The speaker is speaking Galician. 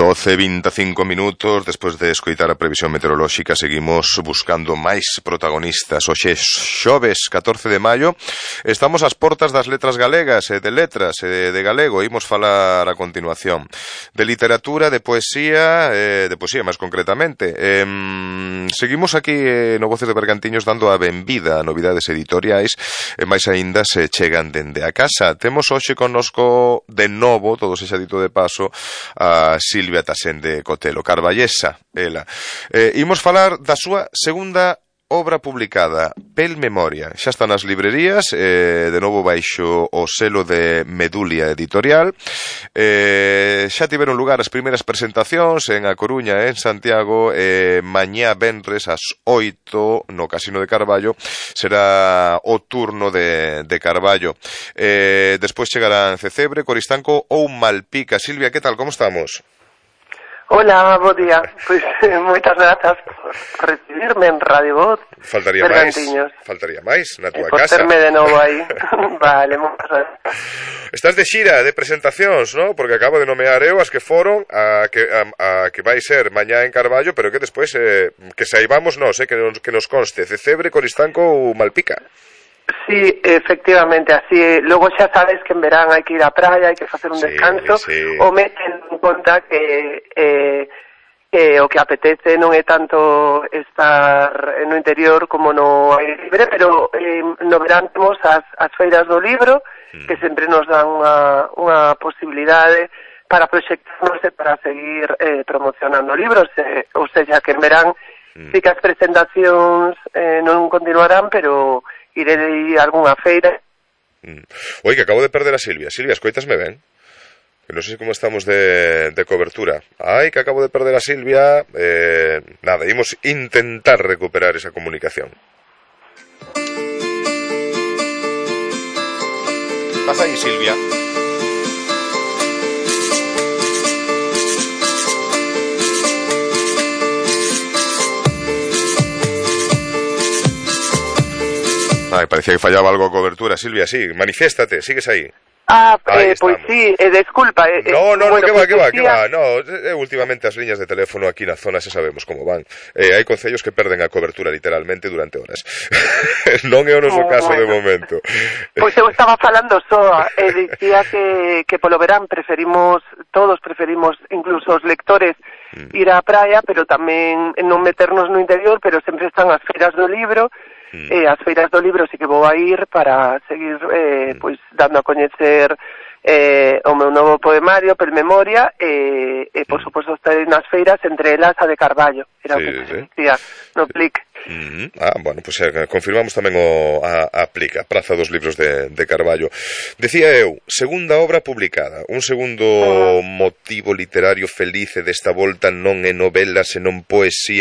12:25 minutos. Despois de escoitar a previsión meteorolóxica, seguimos buscando máis protagonistas. Hoxe xoves 14 de maio, estamos ás portas das letras galegas e de letras e de galego. Imos falar a continuación de literatura, de poesía máis concretamente. Seguimos aquí no Voces de Bergantiños dando a benvida a novidades editoriais e máis aínda se chegan dende a casa. Temos hoxe connosco de novo, todo se xa dito de paso, a Silvia Tasende Cotelo, carballesa, ela. Imos falar da súa segunda obra publicada, Pel Memoria. Xa está nas librerías, de novo baixo o selo de Medulia Editorial. Xa tiveron lugar as primeiras presentacións en A Coruña e en Santiago. Mañá venres ás 8 no Casino de Carballo será o turno de Carballo. Despois chegarán Cecebre, Coristanco ou Malpica. Silvia, que tal? Como estamos? Hola, bo día. Pois moitas grazas por recibirme en Radio Voz. Faltaría máis na túa por casa. Por terme de novo aí. Vale, moitas grazas. Estás de xira de presentacións, ¿no? Porque acabo de nomear eu as que foron a que vai ser mañá en Carballo, pero que despois que saibamos nós, que nos conste Cecebre, Coristanco ou Malpica. Sí, efectivamente, así. Logo xa sabes que en verán hai que ir á praia, hai que facer un descanso, sí. O meten en conta que o que apetece non é tanto estar no interior como no aire libre, pero no verán temos as feiras do libro, que sempre nos dan unha posibilidade para proxectarnos e para seguir promocionando libros, ou seja, que en verán sí que as presentacións non continuarán, pero irei a algunha feira. Oi, que acabo de perder a Silvia. Silvia, escoitasme ben? Que non sei como estamos de cobertura. Ai, que acabo de perder a Silvia. Nada, imos intentar recuperar esa comunicación. Estás aí, Silvia? Ai, parecía que fallaba algo a cobertura. Silvia, sí, manifiéstate, sigues aí. Pois sí, desculpa. No, que va. No, últimamente as liñas de teléfono aquí na zona xa sabemos como van. Hai concellos que perden a cobertura literalmente durante horas. Non é o noso caso de momento. Pois eu estaba falando só, dicía que polo verán todos preferimos, incluso os lectores, ir á praia, pero tamén non meternos no interior, pero sempre están as feiras do libro. As feiras do libro sí que vou a ir para seguir pois dando a coñecer o meu novo poemario, Pel Memoria, e por suposto estarei nas feiras, entre elas a de Carballo, era o que se decía no PLIC. Bueno, pues confirmamos tamén a PLIC, a Praza dos Libros de Carballo. Decía eu, segunda obra publicada, un segundo motivo literario feliz desta volta non é novela senón poesía.